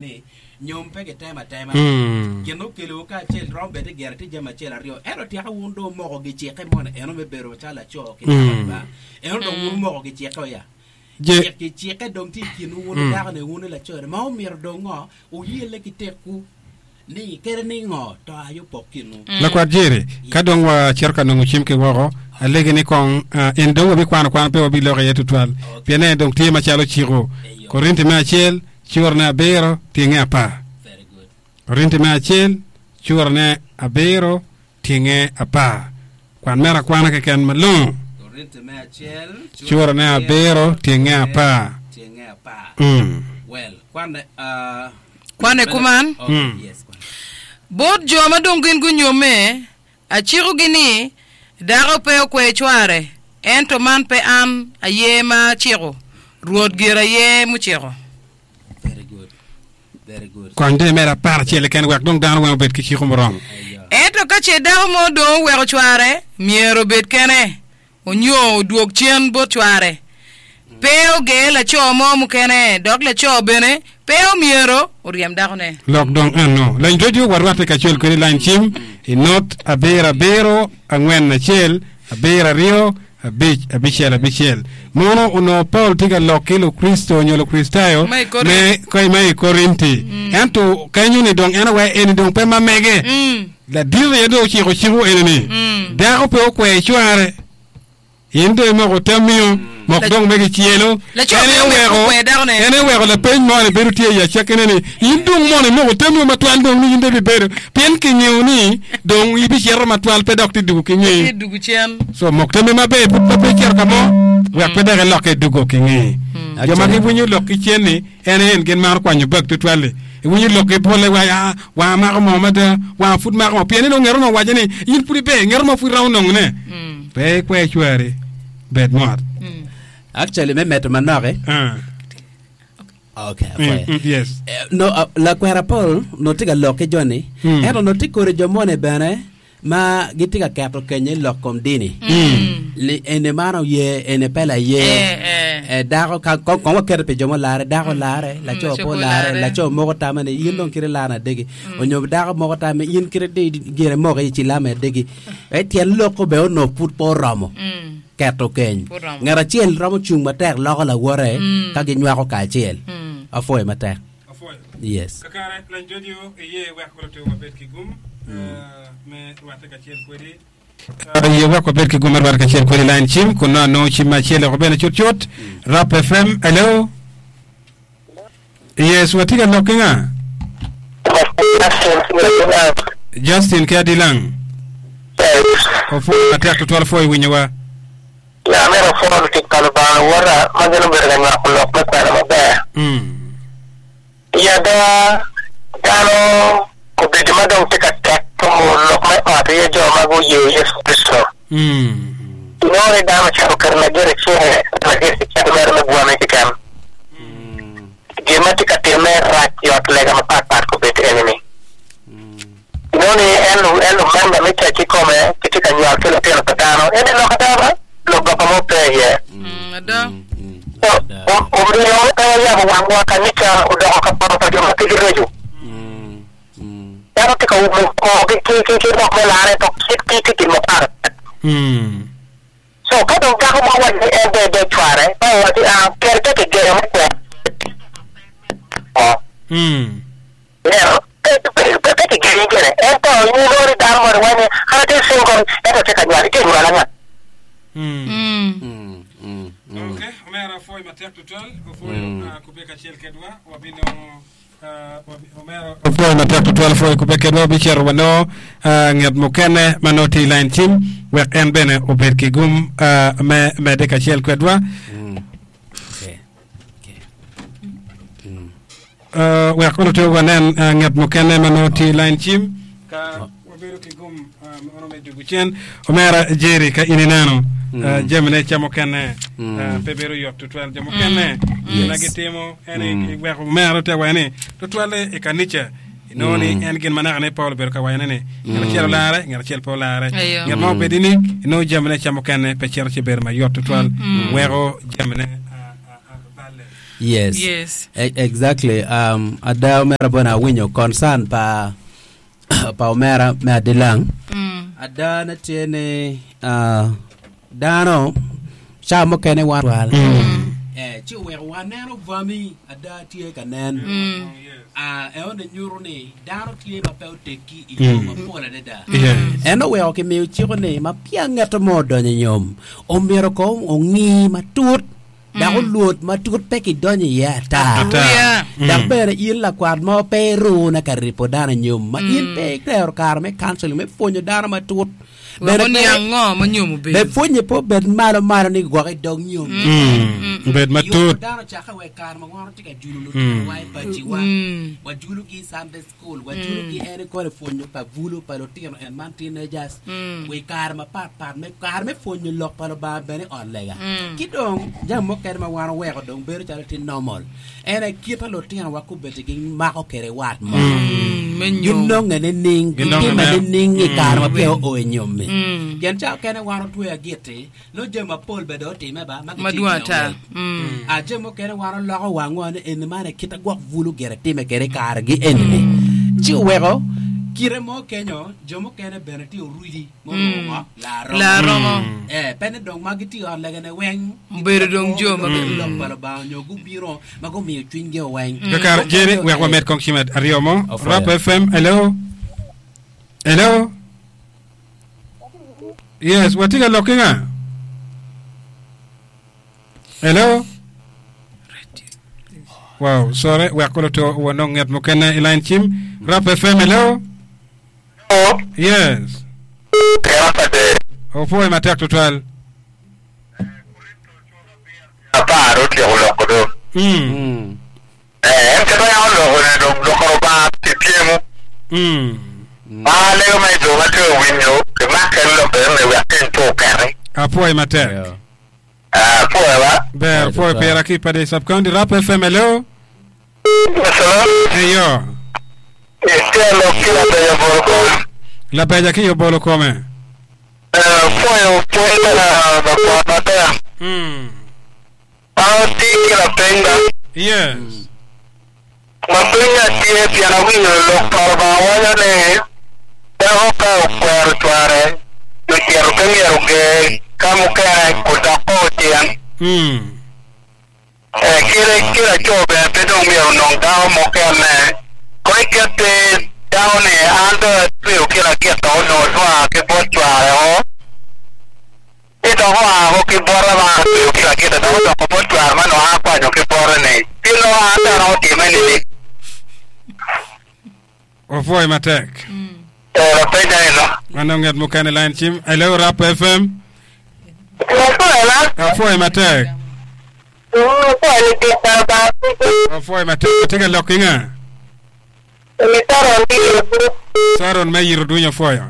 Ni nyom pe gitemo atema. Gin ma okelowu kacel romo bed ni gire tye jami acel aryo, ento tyeka wun dong wumoko gicikke moni eno me bedo macalo laco ki dako-ni ba. Eno dong wun wumoko gicikke oya. Je. Gicikke dong tye i kinwu wun ki dako-ni, wun ki laco-ni, ma omyero dong ngo? Wuyelle ki tekwu ni kadi ningo to aye opok kinwu. Lakwat Jerry, ka dong wacito ka nongo cim ki woko, alegi ni kong in dong wabikwano kwan pe wabiloko iye tutwal, pien en dong tye macalo ciko. Korinti me acel, Curane abiro, tyenge apar. Korinti me acel, curane abiro, tyenge apar. Kwan mere akwana keken malongo. Curane abiro, tyenge apar. Mm. Kwane kuman, Bot jo ma dong gin gunyomme, acikogi ni, dako pe okwer cware, ento man pe an aye ma aciko, Rwot gire aye muciko. Kony dong imed aparacel keken wek dong dano weng obed ki ciko muromo. Ento ka ce dako mo dong oweko cware, myero obed kene. Onyo odwog cen bot cware. Pe oger laco mo mukene, dok laco bene pe omyero oryem dakone. Lok dong eno. Lany radio warwatte kacel kwede lany cim i not abiro abiro angwen acel abiro aryo abic abicel abicel. Mono onongo Paul tye ka lok ki Lukricito nyo Lukricitayo Ma i Korint. me ma i Korinti. Ento kenyo ni dong en awaci eni dong pe ma mege. Ladit aye dong ociko ciko eni ni, Dako pe okwer cware. In dong imoko tamio, mok dong me gicelo. Laco En pe aye omyero oweko, okwer dakone. en aye oweko lapeny moni bedo tye i acakkine ni, In dong mono imoko tamio matwal dong ni in dong ibibedo, pien kingeyo ni dong ibicito matwal pe dok ti dugo ki Tye ngeyi. dugo cen. So mok tammi maber pud ma pe icito ka mo, wek pe dok ilokke idugo ki ngeyi. Jo ma giwinyo lok ki cen-ni, En aye en gin maro kwanyo bag tutwal-li. Iwinyo lok ki pole waco, aa, wanga mako moo mada, wanga pud mako moo. Pien ni nongo ngeto mo owaco ni, in pud iber, ngeto mo pud iromo nongone. Pe ikwer cwari, bed mot. Actually, me medo manok eh? Ah. Okay, Mm, okay. mm, yes. Eh, no, uh, lakwena Paul no tye ka lok ki joni, Mm. ento no tye kodi jo moni bene ma gitye ka keto kenye i lok kom dini. Li, eni man oye, eni pe laye. Eh, eh. Eh, dako, ka, kong, kong waketo pi jo mulare, dako lare, laco laco pe pe olare, olare. laco moko tamme ni in dong kite larna adegi, onyo dako moko tamme in kite di gire moko i cilame adegi. Eh, tyen loko bene onongo pud pe oromo keto keny. Pe oromo. Ngat acel romo cung matek loko lawote ka ginywako kacel. Apwoyo matek. Apwoyo. Yes. Kakare, lany radio iye wek luto wabed ki gum me rwatte kacel kwedi. Iye wek wabed ki gum me rwatte kacel kwedi line cim kun nongo anongo cim me acel oko bene cutcut. Rap FM, hello. Yes, watye ka lok ki nga? Justin ki Adilang. Opwoyo matek tutwal opwoyo winyowa. Ya amito apwo lutic pa Lubanga luwota ma gin obedo ka nywako lok me kwena maber. I ada, dano kobedo ma dong tye ka tek tumo lok me ot aye jo ma guye Yecu Kricito. Inongo ni dano ocako keto lagit i cinge, lagit kicel mere me bwome keken. Gin ma tye ka timme rac i ot lega mapatpat kobedo eni-ni. Inongo ni en en lumemba me cac kikome gitye ka nywal ki lutino pa dano. Ento i lok ada ba, lok goba mo pe iye. So, omiyo pe wayabo wangwa, kanica odoko ka poto pa jo ma pe gireco. Dano tye ka umo korgi ki, ki, ki lok me larre, ento kitgi tye gin mapat. So, ka dong dako mo waco ni en dong edeg cware, Baibul waco ni, Ah, ker pe kigeno me kwero. Ineno? Pe, pe, pe kigeni gire. Ento in inongo ni dano moni waco ni, An atye single, ento atye ka nywal. Itye ka nywal anga? Ok, omera apwoyo matek tutwal, opwoyo ah, kubbe kacel kedwa, wabinongo ah, wabi- omera opwoyo matek tutwal, opwoyo kubbe kedwa, wabicito wanongo ah, nget mukene ma nongo tye i line cim, wek en bene obed ki gum ah, me medde kacel kwedwa. Uh, wek kono to wanen uh, nget mukene ma nongo tye i line cim ka wabedo ki gum uh, mono me dugu cen omera Jerry ka in ineno uh, jamine ca mukene uh, pe bedo yot tutwal jo mukene gin ma Yes. gitimo en i weko omera te waco ni tutwalle i kanica inongo ni en gin ma naka ne Paul obedo ka wacone ni ngat acel olare ngat acel pe olare Ayo. ngat ma obedi ni inongo jamine ca mukene pe cito ci bedo mayot tutwal weko jamine uh, uh, uh, balle. Yes. Yes. E- exactly. Um, ada omera bona awinyo concern pa pa omera me adilang. Ada ne tye ni uh, dano ca mukene wan twal. Eh, ci oweko waneno bwami ada tye ka nen. Ah, eno nyuto ni dano tye ma pe oteggi i yo mapol adada. Yes. En oweko kimiyo ciko ni ma peya ngeto mo odonyo i nyom, omyero kong ongi matut dok olwod matut pe kidonyo iye ata. Ata. Aruya. Dok bene in lakwat mo pe irune ka ripo dano i nyom ma in pe itero kare me counseling me pwonyo dano matut. Wek Bene pe oniang ngo ma nyom be obedo. pwonye pe obed malo malo ni gwok idog nyom. Bed Yubo matut. dano cakke wa i kare ma wan watye ka julo lutinowa i paciwa, wajulogi i Sunday school, wajulogi en i kore pwonyo pa bulu pa lutino en man teenagers, wa i kare mapat pat me kare me pwonyo lok pa Lubanga bene i ot lega. Ki dong jami mukene ma wan oweko dong bedo calo tye normal en aye kit ma lutinowa kobeddi gimako kwede wat mo. Me nyom. Ginonge nining, Ginonge gitime me- nining i kare ma peya oo i nyommi. Pien ca okene wan otweyo agiti, nongo jami mapol bene dong otime ba ma gitye Madwong i ata. kin owec. Ah, jami mukene wan oloko wangwa ni eni man aye kit a gwok bulu gire time kwede i karegi eni-ni. Ci oweko kite mo kenyo jo mukene bene tye orudi ma oruko ngo? Laa Laa romo. romo. Eh, pe ni dong ma gitye i ot legane weng Obedo dong jo ma gitye lok pa Lubanga nyo gubino ma gumiyo cwinygi oweng. Kakare, Jerry, wek wamed kong cim aryo mo. Opwoyo. Rap FM, hello. Hello. Yes, watye ka lok ki nga? Hello. Wow, sorry, wek kolo to wanong nget mukene i line cim. Rap FM, hello. Yes. Opwoyo matek tutwal. Apar otyeko loko do. En kit ma yam oloko ni dong loko Lubanga pi pyemo. Ma alego ma i jo ma tye ka winyo gimak en lok eni wek keny pe oketi. Apwoyi matek. Apwoyo ba. Ber, pwoyo pira ki i Padec Sub County. Rap FM, hello. Eyo. Itye lok ki labeja bolo kome. Labeja ki obolo kome. Pwoyo pwony pa lakwat matek. An atye ki lapeny ba. Yes. Lapenya tye pien awinyo lok pa Lubanga waco ni dako ka okwero cware nyo cito pe myero oger ka mukene odok kor cen. Kite ki laco bene pe dong myero onong dako mukene. Kong iket pe dako ni an dong atweyo ki lagit dok onongo dwanga ki bot cware o, ci dok oa ko ki bota ma an atweyo ki lagitte dok odoko bot cware ma onongo an akwanyo ki bote ni, ci nongo an bene otime nining? Wapwoyi matek. Ee, lapenya eno. Wanong nget mukene line cim. Hello, Rap FM. Apwoyi matek. Apwoyi matek. Atye ka lok ki nga? Saron me yito dwiny apwoyo.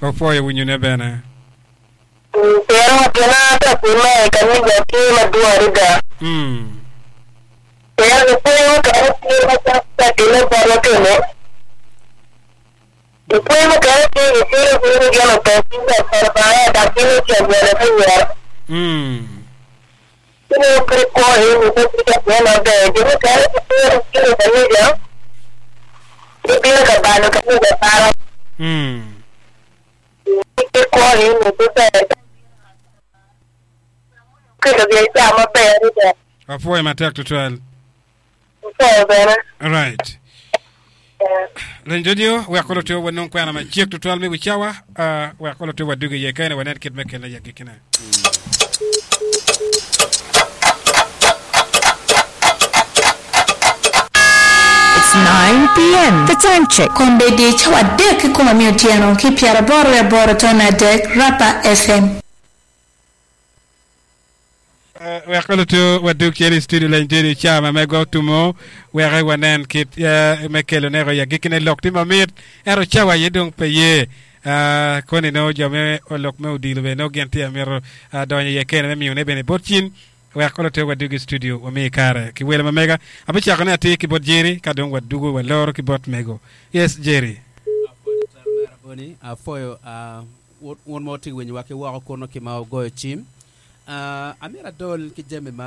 Opwoyo winyone bene. Pien gin a ka timme i kanica tye madwong adada. Pien lupwony mukene tye ma cok ka timme botwa kene. Lupwony mukene tye gicwalo piny ni gin opong ki lok pa Lubanga dok gin ocel bene me woro. Ci nongo kit kwo eni pe tye ka timme maber. Jo mukene gitero gin i kanica, gibino ka balo kanica abala. Kit kwo eni pe ber. Kelo biacara maber adada. Apwoyo matek tutwal. Apwoyo bene. Right. Leny radio wek kolo tye wanong kwena macek tutwal me wi cawa uh, wek kolo tye wadugi iye kene wanen kit me kele ya gikine. It's 9 PM. The time check. Kombeddi cawa adek ki kome me otyeno ki pyeraboro wiye aboro tone adek, Rapa FM. Wek ka luto wadug cen i studio leny tye i cawa ma megwa otumo wek wanen kit me kelo neko i agikkine lok tye mamit ento cawa aye dong pe ye koni nongo jo me lok me odilo bene nongo gin tye amito donyo iye kene me miyone bene bot cin wek ka luto wadug i studio wamiye kare ki welo ma mega abicako ne atir ki bot Jerry ka dong wadugo waloro ki bot mego yes Jerry. Apwoyo. Wun ma wutye ka winyowa ki woko kunu ki ma wugoyo cim, amito adol ki jami ma.